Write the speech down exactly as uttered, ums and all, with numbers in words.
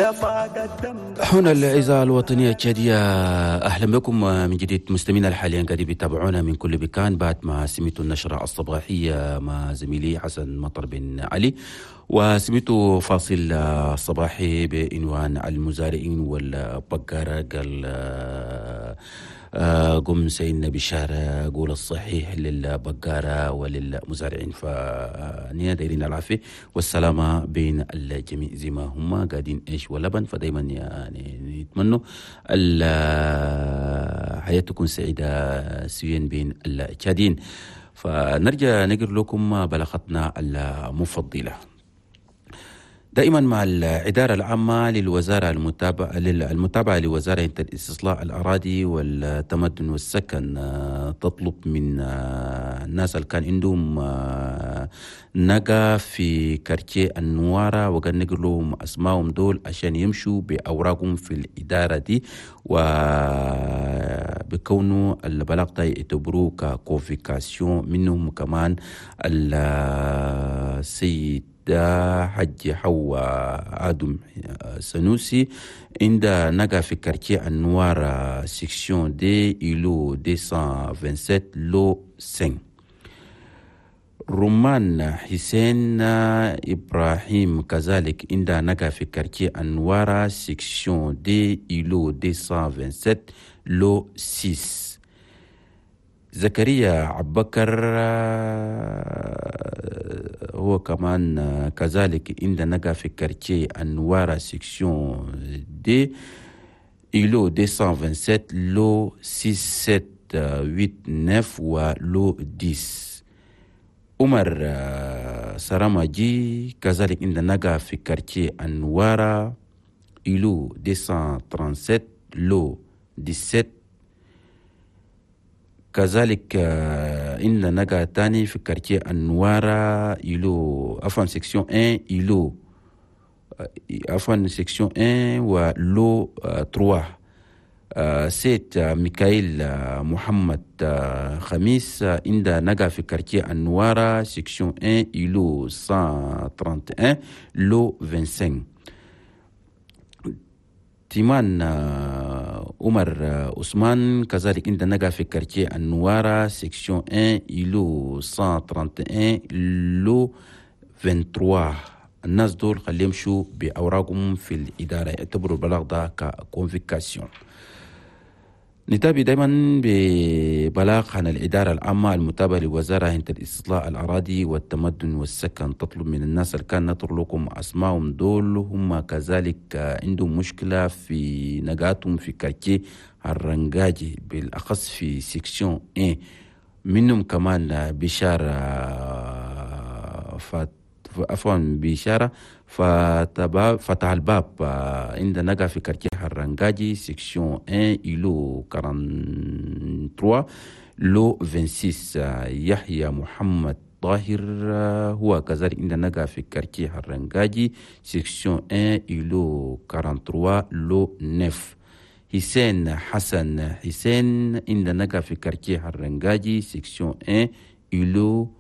هنا الإذاعة الوطنية التشادية، أهلا بكم من جديد مستمعينا حاليا قاعدين بيتابعونا من كل مكان بعد ما سمعتوا النشرة الصباحية مع زميلي حسن مطر بن علي، وسمعتوا فاصل صباحي بعنوان المزارعين والبقارة. قال قم سيدنا بشارة قول الصحيح للبقارة وللمزارعين. فنينا دايرين العافية والسلامة بين الجميع زي ما هم قاعدين عيش ولبن، فدايما يعني نتمنوا الحياة تكون سعيدة سويا بين التشادين. فنرجع نقر لكم بلاغتنا المفضلة دائما مع الإدارة العامة للوزارة المتابعة المتابعة لوزارة الاستصلاح الأراضي والتمدن والسكن، تطلب من الناس اللي كان عندهم نقا في quartier النوارة وقال نقول لهم أسمائهم دول عشان يمشوا بأوراقهم في الإدارة دي، وبكونه البلاغ ده يعتبروه ك convocation. منهم كمان السيد حج حوا آدم سنوسي عند نقا في quartier النوارة section deux îlot مئتين وسبعة وعشرين lot خمسة. رمان حسين إبراهيم كذلك عند نقا في quartier النوارة section deux îlot مئتين وسبعة وعشرين lot ستة. زكريا عبكر هو كمان كذلك عند نقا في quartier النوارة section deux îlot مئتين وسبعة وعشرين lot ستة سبعة ثمانية تسعة و lot عشرة. عمر سرامجي كذلك عند نقا في quartier النوارة îlot مئتين وسبعة وثلاثين lot سبعة عشر. كذلك عند نقا تاني في quartier النوارة îlot، عفوا، section واحد îlot، عفوا، section واحد و lot ثلاثة. سيد ميكائيل محمد خميس عند نقا في quartier النوارة section واحد îlot مئة وواحد وثلاثين lot خمسة وعشرين. تيمان عمر عثمان كذلك عند نقا في quartier النوارة section واحد îlot مئة وواحد وثلاثين lot ثلاثة وعشرين. الناس دول خليهم يمشوا بأوراقهم في الإدارة، يعتبروا البلاغ ده ك convocation. نتابع دائما ببلاغ عن الإدارة العامة المتابعة لوزارة الاستصلاح الأراضي والتمدن والسكن، تطلب من الناس اللي كان نطر لكم أسمائهم دول هم كذلك عندهم مشكلة في نقاتهم في quartier الرنجاجي بالأخص في section واحد، منهم كمان بشارة فات، عفوا، بشارة فتح الباب عند نقا في quartier الرنجاجي section واحد îlot ثلاثة وأربعين lot ستة وعشرين. يحيى محمد طاهر هو كذلك عند نقا في quartier الرنجاجي section واحد îlot ثلاثة وأربعين lot تسعة. حسين حسن حسين عند نقا في quartier الرنجاجي section واحد îlot